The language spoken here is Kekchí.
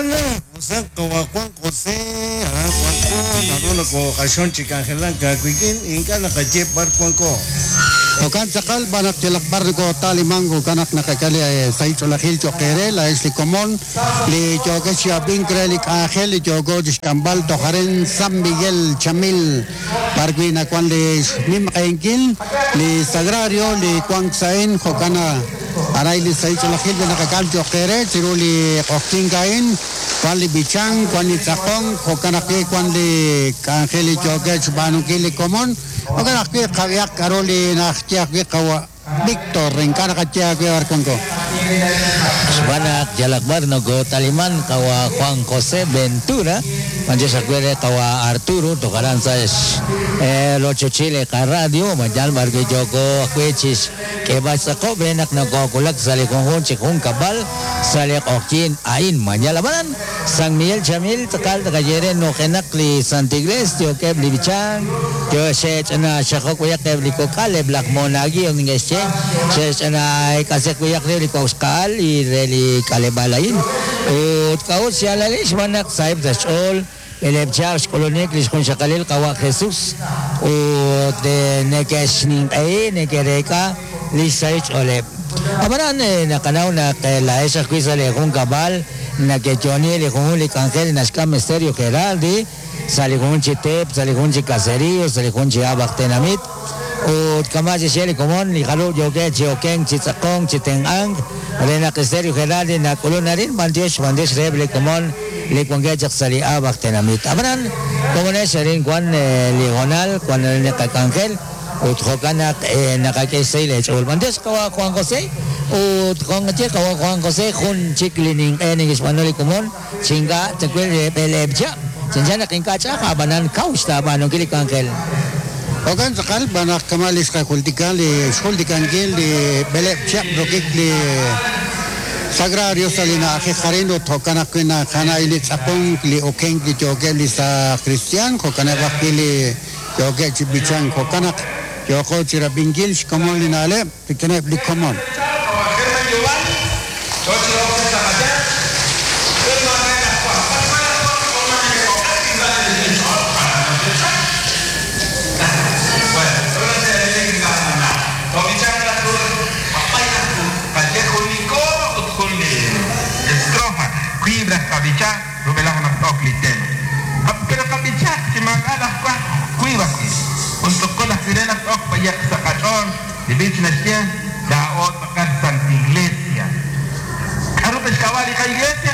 Jo'kan naq, usa qawa' Juan José, aran wanko, naru nokooq'axon chi k'anjelank aawik'in, ink'a' naqaye b'ar wanko. Jo'kan tz'aqal, b'an naq yalaq b'ar nokootaalimank, jo'kan naq naqak'e li sahil ch'oolejil cho'q eere, laa'ex li komon li yookex chi ab'ink re li k'anjel li yooko chi xk'amb'al toj arin San Miguel Chamil, b'ar wi' nawank li xnimq'ehinkil li Sagrario li wank sa' a'in, jo'kan aray li sahil ch'oolejil li naqak'am cho'q eere chiru li q'oqyink a'in, wank li b'ichank, wank li tz'aqonk, jo'kan ajwi' wank li k'anjel li yookeb' xb'aanunkil li komon, jo'kan ajwi' qab'ihaq k'aru li naxye ajwi' qawa' Víctor, ink'a' naqaye aawe b'ar wanko. Xb'aan naq yalaq b'ar nokootaliman qawa' Juan José Ventura, b'anyox ajwi' re qawa' Arturo toj aran sa' rochochil li qaradio, b'an yal b'ar wi' yooko ajwi' chi xk'eeb'al xtz'aqob' re naq nokoowulak sa' li junjunq chi junkab'al sa' li q'oqyink a'in. Mañal ab'anan, San Miguel Chamil tz'aqal tqaye re nujenaq li Santa Iglesia yookeb' li b'ichank, yo xe'ch'ina xajok b'ayaq eb' li kok'al, eb' laj monaguillo neke'xye, xe'ch'ina eek'asiq b'ayaq re li kok' xqa'al li re li k'aleb'aal a'in. Ut k'a'ut xyaalalil? Xb'aan naq saheb' sa' xch'ool b'eleeb' chihab' xk'ulunik li xjunxaqalil Qawa' Jesus ut neke'xninq'ehi, neke'reek'a li xsahil xch'ooleb'. Ab'anan naqanaw naq laa'ex ajwi' sa' lee junkab'al Neke'yo'oni li junjunq li k'anjel li naxk'am Stereo Geraldi sa' li junjunq chi teep, sa' li junjunq chi caserío, sa' li junjunq chi ab'aj tenamit. Ut kama' xe'xye li komon, li jarub' yookeb' chi okenk, chi tz'aqonk, chi tenq'ank re naq Stereo Geraldi nak'ulun arin, b'antiox, b'antiox reheb' li komon li wankeb' chaq sa' li ab'aj tenamit. Ab'anan, komonex arin wan li hoonal, wan arin li qak'anjel. Ut jo'kan naq naqak'e xsahil eech'ool. B'antiox qawa' Juan José ut jo' nqaye qawa' Juan José jun chik li ninq'e neke'xb'aanu li komon chi ink'a' tawil re b'eleeb' chihab'. Chanchan naq ink'a' ch'a'aj a'b'anan kaw xtaab'aanunkil li k'anjel. Jo'kan tz'aqal, xb'aan naq kama' li xqajultika li xjultikankil li b'eleeb' chihab' rokik li Sagrario sa' li na'ajej arin ut jo'kan ajwi' naqana'il li tz'aqonk, li okenk li yookeb' li saaj kristiaan, jo'kaneb' ajwi' li Yookeb' chi b'ichank, jo'kan naq yooqo chi rab'inkil xkomon li na'leb' rik'ineb' li komon. Rub'elaj naq t-ok li tema. Pero qab'ichaq chi maak'a' laj wajb' wiib' ajwi'. Jun tz'uqul ajwi' re naq t-ok b'ayaq sa' qach'ool. Li b'ich naxye, Laa'o tz'aqal Santa Iglesia. K'aru ta xk'ab'a' li qa'iglesia?